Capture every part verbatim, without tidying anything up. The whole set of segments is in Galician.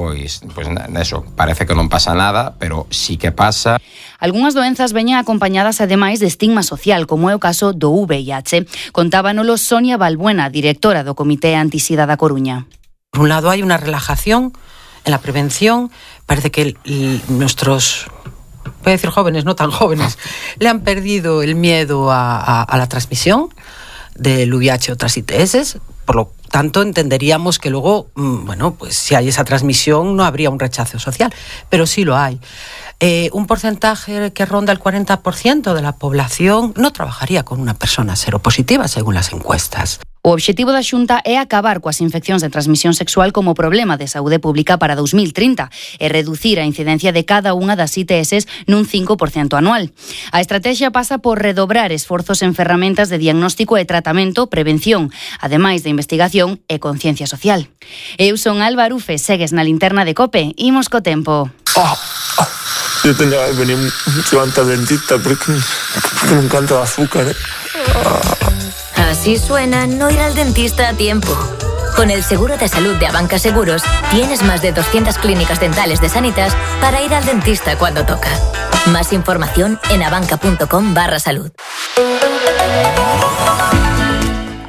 pois, pois eso, parece que non pasa nada, pero sí que pasa. Algúnas doenzas veñen acompañadas ademais de estigma social, como é o caso do V I H. Contábanolo Sonia Balbuena, directora do Comité Antisida da Coruña. Por un lado hay una relajación en la prevención, parece que el, el, nuestros... voy a decir jóvenes, no tan jóvenes, le han perdido el miedo a, a, a la transmisión del V I H o otras I T S, por lo tanto entenderíamos que luego, bueno, pues si hay esa transmisión no habría un rechazo social, pero sí lo hay. Eh, un porcentaje que ronda el cuarenta por ciento de la población no trabajaría con una persona seropositiva, según las encuestas. O obxectivo da Xunta é acabar coas infeccións de transmisión sexual como problema de saúde pública para dous mil trinta e reducir a incidencia de cada unha das I T S nun cinco por ciento anual. A estrategia pasa por redobrar esforzos en ferramentas de diagnóstico e tratamento, prevención, ademais de investigación e conciencia social. Eu son Alba Arufe, segues na linterna de COPE, imos co tempo. Oh, oh. Yo tenía que venir mucho antes al dentista porque, porque me encanta el azúcar, ¿eh? Oh. Así suena no ir al dentista a tiempo. Con el seguro de salud de Abanca Seguros, tienes más de doscientas clínicas dentales de Sanitas para ir al dentista cuando toca. Más información en abanca.com barra salud.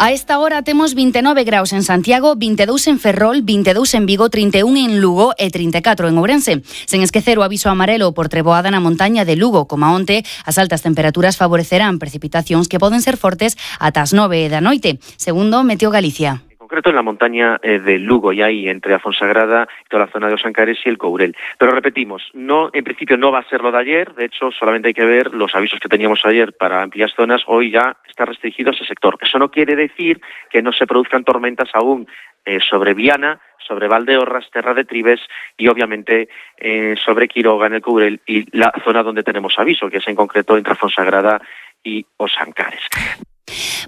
A esta hora temos vinte e nove graus en Santiago, vinte e dous en Ferrol, vinte e dous en Vigo, trinta e un en Lugo e trinta e catro en Ourense. Sen esquecer o aviso amarelo por treboada na montaña de Lugo, como a onte, as altas temperaturas favorecerán precipitacións que poden ser fortes ata as nove da noite, segundo Meteo Galicia. En concreto en la montaña eh, de Lugo y ahí entre la Fonsagrada y toda la zona de Os Ancares y el Courel. Pero repetimos, no, en principio no va a ser lo de ayer, de hecho solamente hay que ver los avisos que teníamos ayer para amplias zonas, hoy ya está restringido ese sector. Eso no quiere decir que no se produzcan tormentas aún eh, sobre Viana, sobre Valdeorras, Terra de Tribes y obviamente eh, sobre Quiroga en el Courel y la zona donde tenemos aviso, que es en concreto entre Fonsagrada y Os Ancares.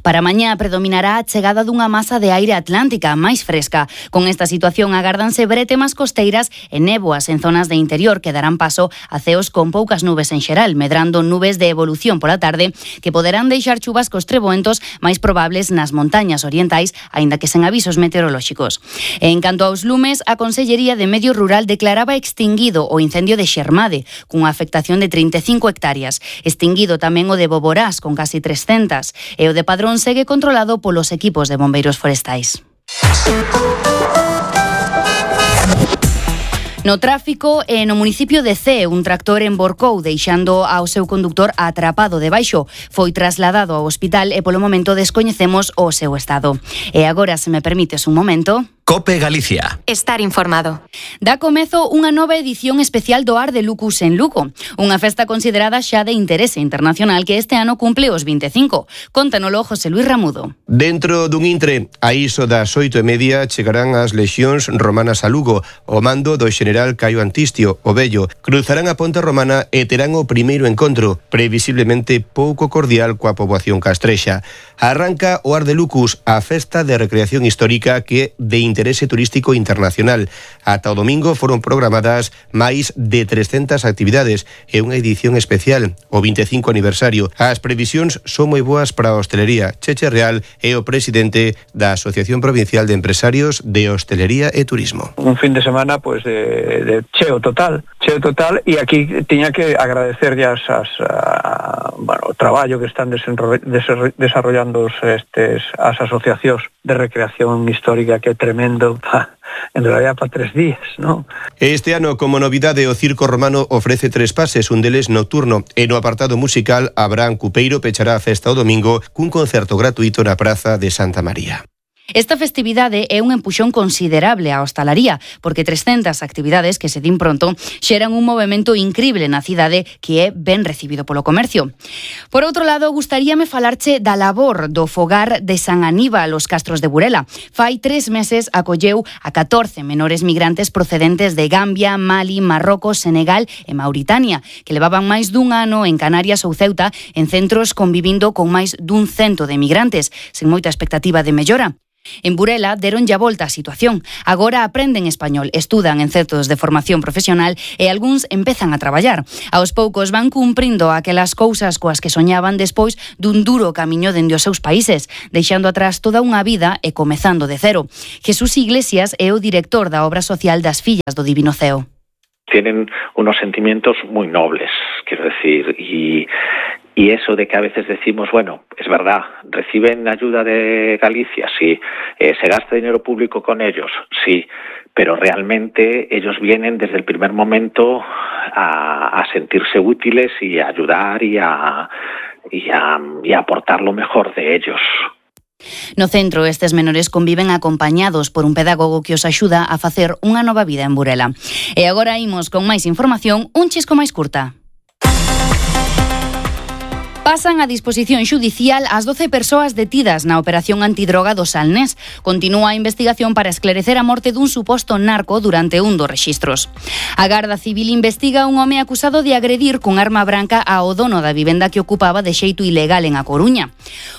Para mañá predominará a chegada dunha masa de aire atlántica máis fresca. Con esta situación agárdanse bretemas costeiras e néboas en zonas de interior que darán paso a ceos con poucas nubes en xeral, medrando nubes de evolución pola tarde que poderán deixar chuvascos treboentos máis probables nas montañas orientais, aínda que sen avisos meteorolóxicos. En canto aos lumes, a Consellería de Medio Rural declaraba extinguido o incendio de Xermade, cunha afectación de trinta e cinco hectáreas. Extinguido tamén o de Boborás, con casi trescentas, e o de Padrón segue controlado polos equipos de bombeiros forestais. No tráfico, e no municipio de Cee, un tractor emborcou deixando ao seu conductor atrapado debaixo. Foi trasladado ao hospital e polo momento descoñecemos o seu estado. E agora, se me permites un momento... COPE Galicia. Estar informado. Dá comezo unha nova edición especial do Ar de Lucus en Lugo, unha festa considerada xa de interese internacional que este ano cumple os vinte e cinco. Contanolo José Luis Ramudo. Dentro dun intre, a iso das oito e media, chegarán as lexións romanas a Lugo, o mando do xeneral Caio Antistio, o Vello. Cruzarán a Ponte Romana e terán o primeiro encontro, previsiblemente pouco cordial coa poboación castrexa. Arranca o Ar de Lucus, a festa de recreación histórica que de interese turístico internacional. Ata o domingo foron programadas máis de trescentas actividades e unha edición especial, o vinte e cinco aniversario. As previsións son moi boas para a hostelería. Cheche Real é o presidente da Asociación Provincial de Empresarios de Hostelería e Turismo. Un fin de semana pues de, de cheo total, cheo total, e aquí tiña que agradecer ya as, a, bueno, o traballo que están desarrollando estes, as asociacións de recreación histórica, que é tremendo, pa, en realidad para tres días, ¿no? Este ano, como novidade, o Circo Romano ofrece tres pases, un deles nocturno, e no apartado musical, Abraham Cupeiro pechará a festa o domingo cun concerto gratuito na Praza de Santa María. Esta festividade é un empuxón considerable á hostalaría, porque trescentas actividades que se din pronto xeran un movemento incrible na cidade que é ben recibido polo comercio. Por outro lado, gustaríame falarche da labor do fogar de San Aníbal, os Castros de Burela. Fai tres meses acolleu a catorce menores migrantes procedentes de Gambia, Mali, Marrocos, Senegal e Mauritania, que levaban máis dun ano en Canarias ou Ceuta en centros convivindo con máis dun cento de migrantes, sen moita expectativa de mellora. En Burela deronlle a volta a situación. Agora aprenden español, estudan en centros de formación profesional e algúns empezan a traballar. Aos poucos van cumprindo aquelas cousas coas que soñaban despois dun duro camiño dende os seus países, deixando atrás toda unha vida e comezando de cero. Jesús Iglesias é o director da obra social das Fillas do Divino Ceo. Tienen unos sentimientos muy nobles, quiero decir, y... Y eso de que a veces decimos, bueno, es verdad, reciben ayuda de Galicia, sí, eh, se gasta dinero público con ellos, sí, pero realmente ellos vienen desde el primer momento a, a sentirse útiles y a ayudar y a, y a, y a aportar lo mejor de ellos. No centro, estes menores conviven acompañados por un pedagogo que os axuda a facer unha nova vida en Burela. E agora imos con máis información, un chisco máis curta. Pasan a disposición xudicial as doce persoas detidas na operación antidroga do Salnés. Continúa a investigación para esclarecer a morte dun suposto narco durante un dos rexistros. A Garda Civil investiga un home acusado de agredir con arma branca ao dono da vivenda que ocupaba de xeito ilegal en A Coruña.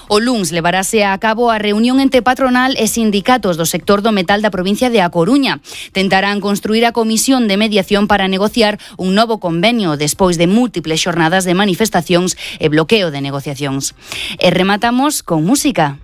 O luns levarase a cabo a reunión entre patronal e sindicatos do sector do metal da provincia de A Coruña. Tentarán construir a comisión de mediación para negociar un novo convenio despois de múltiples xornadas de manifestacións e bloqueos de negociacións. E rematamos con música.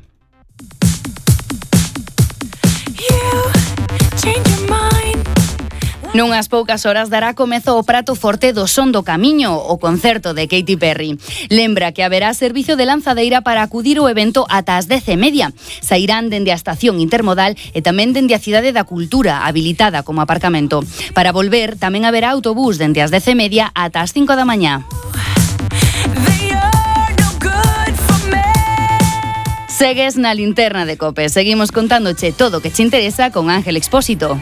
Nunhas poucas horas dará comezo o prato forte do Son do Camiño, o concerto de Katy Perry. Lembra que haberá servicio de lanzadeira para acudir ao evento ata as dez e media. Sairán dende a estación intermodal e tamén dende a Cidade da Cultura, habilitada como aparcamento. Para volver, tamén haberá autobús dende as dez e media ata as cinco da mañá. Segues na linterna de COPE. Seguimos contándoche todo o que te interesa con Ángel Expósito.